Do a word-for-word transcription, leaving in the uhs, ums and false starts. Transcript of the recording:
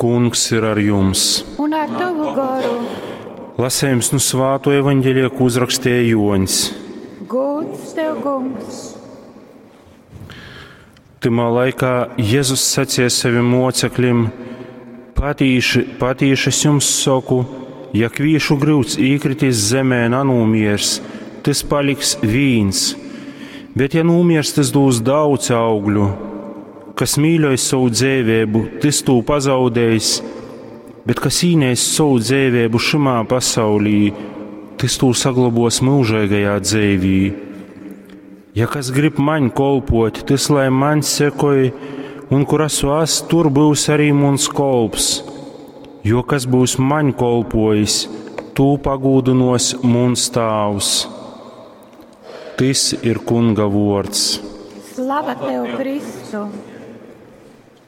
Kungs ir ar jums! Un ar tavu goru. Lasējums nu svāto evaņģelija, ko uzrakstīja Joņs. Gods tev, kungs! Tymā laikā Jēzus sacīja saviem mocekļiem: Patīši, patīši es jums saku, ja kvīšu gryuds īkritīs zemē nanūmiers, tys paliks vīns, bet ja nūmiers, tys dūs daudz augļu. Kas mīļoj savu dzēvēbu, tys tū pazaudējis, bet kas īnēs savu dzēvēbu šimā pasaulī, tys tū saglabos mūžīgajā dzēvī. Ja kas grib maņ kolpot, tys lai maņ sekoj, un kur esmu es, tur būs arī muns kolps. Jo kas būs maņ kolpojis, tū pagūdinos muns tāvs. Tys ir Kunga vārds. Slava tev, Kristu!